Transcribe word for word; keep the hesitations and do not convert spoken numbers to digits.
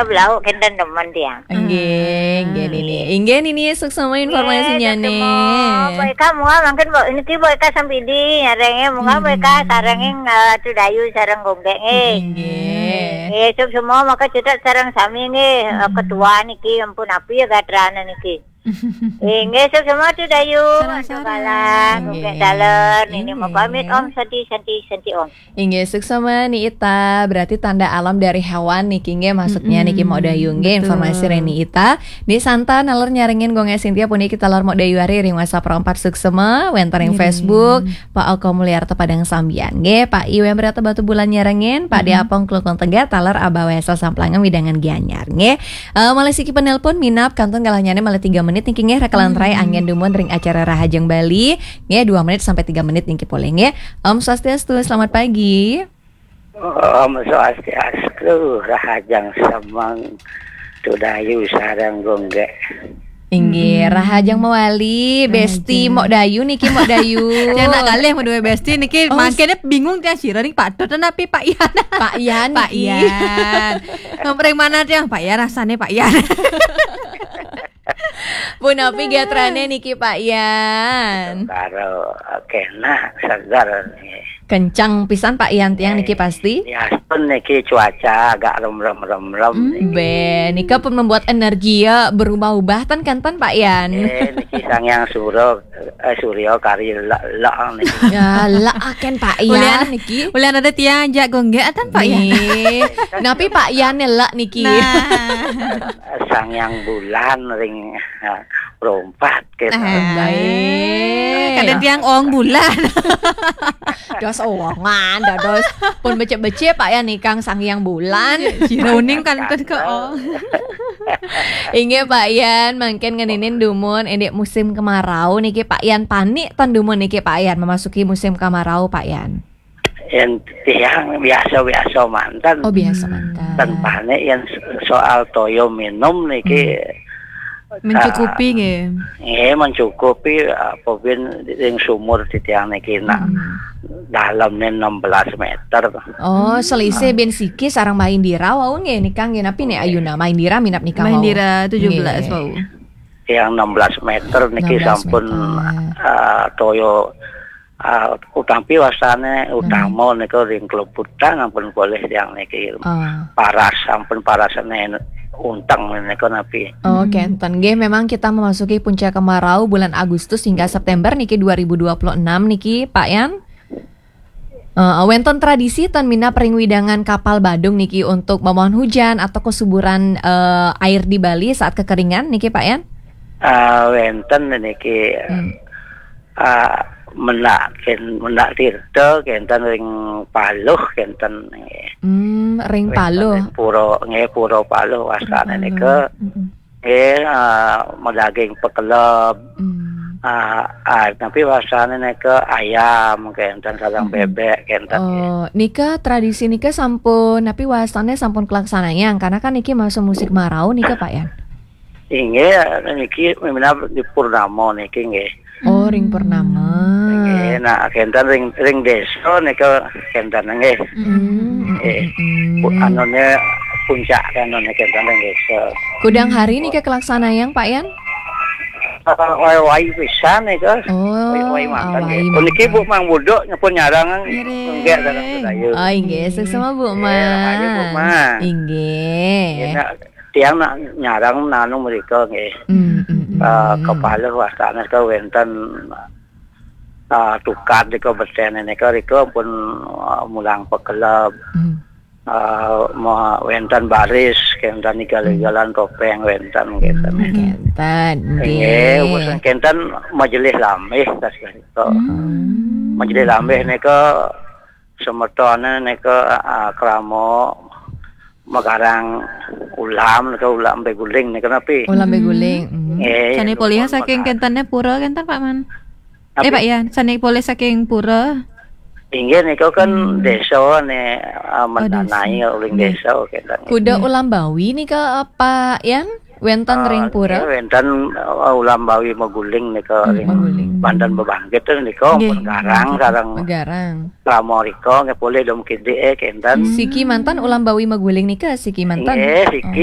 Belauk kenten demen tiang. Nggih, nggih, Nini. Nggih, Nini, suksma informasinya, Nggih, nih. Suksma. Mbok Ika, munggah mangkin, Mbok, niki Mbok Ika sampidi, nyarengin, munggah Mbok Ika sarengin, eh, Ratu Dayu sareng Gonggek, nggih. Nggih. Nggih, suksma, maka cedhak sareng sami, nggih, eh, ketua niki, ampun, api ya gatrane niki. Inggih, suksma Ratu Dayu, Sareng-sareng. Antuk Galang, Nggih. Gonggek Daler, Nini, Nggih. Moga amit, Om, Santi, Santi, Santi, Om. Inggih, suksma Ni Ita, berarti tanda alam dari hewan niki, nggih, maksudnya niki Mok Dayu, nggih, betul. Informasi ring Ni Ita. Ni Santa naler nyarengin Gonggek Sintia puniki taler Mok Dayu ari ring WhatsApp ro empat suksma, wenten ring Facebook, Pak Oko Mulyarta Padang Sambian, nggih, Pak Iwan Brata Batubulan nyarengin, Pak Diapong Klukun Tengah, taler Abah Wesa Samplangan Widangan Gianyar, nggih. Eh, malih siki penelpon minab kantun galahnyane malih tiga menit niki, nggih, rekelan rai anggen dumun ring acara Rahajeng Bali. Nggih, dua menit sampai tiga menit niki polih, nggih. Om Swastiastu, selamat pagi. Om Swastiastu, Rahajeng Semeng, Ratu Dayu sareng Gonggek. Inggih, Rahajeng mawali, Besti Rahajeng. Mok Dayu niki, Mok Dayu. Tiang nak kalih madue Besti niki, Oh, mangkene bingung tiang sira ning Pak Dot napi Pak Yan. Pak Yan Pak niki. Yan. Ngompreng mana tiang? Pak Yan rasane Pak Yan. Punapi gatrane niki, Pak Yan? Karo, kenak, seger nih. Kencang pisan, Pak Yan, tiang niki pasti. Ya, pun niki cuaca agak remrem-remrem Hmm, niki. Be, nika pun membuat energi ya berubah-ubah ten kenten, Pak Yan. Eh, niki Sang Yang Suro, eh, Suryo kari lek-lek niki. Ya, lek aken, Pak Yan, Ulian, niki. Ulian ada tiang ajak Gonggek ten, Pak Yan. Nih. Napi Pak Yan lek niki? Nah. Sang Yang Bulan ring, eh, Pro Empat gitu. Ah, baik. Kadang tiang ong bulan. Dos owongan, dados pun becik-becik Pak Yan nikang Sang Yang Bulan. Sira uning kantun ke ong. Inggih, Pak Yan, mangkin ngeninin dumun indik musim kemarau niki, Pak Yan, panik ten dumun niki, Pak Yan, memasuki musim kemarau, Pak Yan. Yen tiang biasa-biasa manten. Oh, biasa manten. Ten panik yen soal toya minum niki, Hmm. Mencukupi, ah, nggih. Nggih, mencukupi, apa bin ring sumur titiang niki nak Hmm. dalemne enam belas meter. Oh, selisih Ah. bin siki sareng Mbah Indira wau nggih, nikang nggih, napi nek Nggih. Ayuna Mbah Indira minab nikang Mbah wau? Indira tujuh belas Nggih. Wau. Yang enam belas meter niki Enam belas sampun, meter. Ah, toya, ah, utampi wastane Hmm. Utama nika ring Klebutan ampun polih tiang niki. Ah. Paras, sampun parasane unteng nika napi. Oh, Hmm. kenten. Nggih, memang kita memasuki puncak kemarau bulan Agustus hingga September niki dua ribu dua puluh enam niki, Pak Yan. Eh, wenten tradisi ten minab ring wewidangan Kapal Badung niki untuk memohon hujan atau kesuburan, eh, air di Bali saat kekeringan niki, Pak Yan? Ah, wenten niki, Hmm. ah, mendak ken-, mendak tirta kenten ring Paluh kenten nggih. Hmm, ring Wenten Paluh. Ring pura, nggih, Pura Paluh wastane Pura nika. Paluh. Mm-mm. Nggih, ah, madaging pekeleb. Hmm. Ah, ah, napi wastane nika ayam kenten, sareng Hmm. bebek kenten nggih. Oh, nika tradisi nika sampun, napi wastane sampun kalaksanayang, karena kan niki masa musim kemarau nika, Pak Yan. Inggih, niki minab di purnama niki nggih. Oh, ring purnama. Nggih, nah, kenten ring, ring desa nika kenten nggih. Hmm, Nggih. hmm, hmm. Pu-, anune puncak anune kenten ring desa. Kudang hari nika kalaksanayang, Pak Yan? Eh, wai-wai pisan nika. Oh, wai-wai manten wai nggih. Puniki manten. Bu Mang Buduk nyepun nyarang Ngiring. Nggih, dalam budaya. Oh, inggih, suksma Bu Nggih, Mang. Rahayu, Bu Mang. Inggih. Nggih, nak tiang nak nyarang nanu mrika nggih. Hmm, hmm, hmm. Eh, kepala wastane ke wenten, eh, tukad nika besen nika rika pun, eh, mulang pekeleb. Hmm. Eh, ma-, wenten baris, kenten igal-igalan topeng wenten kenten. Hmm, kenten, Nggih, nggih. Wes kenten majelis lambih tas nika. Hmm. Majelis lambih nika semetone nika, ah, krama magarang ulam nika, ulam beguling nika napi. Ulam beguling. Hmm. Hmm. Nggih, sane polih saking pura kenten, Pak Man? Napi? Eh, Pak Yan, sane polih saking pura? Inggih nika kan Hmm. desa ne, ah, Oh, desa. Mendanai uling Nggih. Desa kenten. Kuda Nggih. Ulam Bawi nika, Pak Yan? Wenten ring pura? Ah, nggih, wenten, ah, Ulam Bawi Maguling nika Hmm, ring Maguling. Banten Bebangkit nika Nggih. Pun garang sareng Garang. Pramorika nggih polih dom kidik, eh, kenten. Siki manten Ulam Bawi Maguling nika, siki manten? Nggih, siki.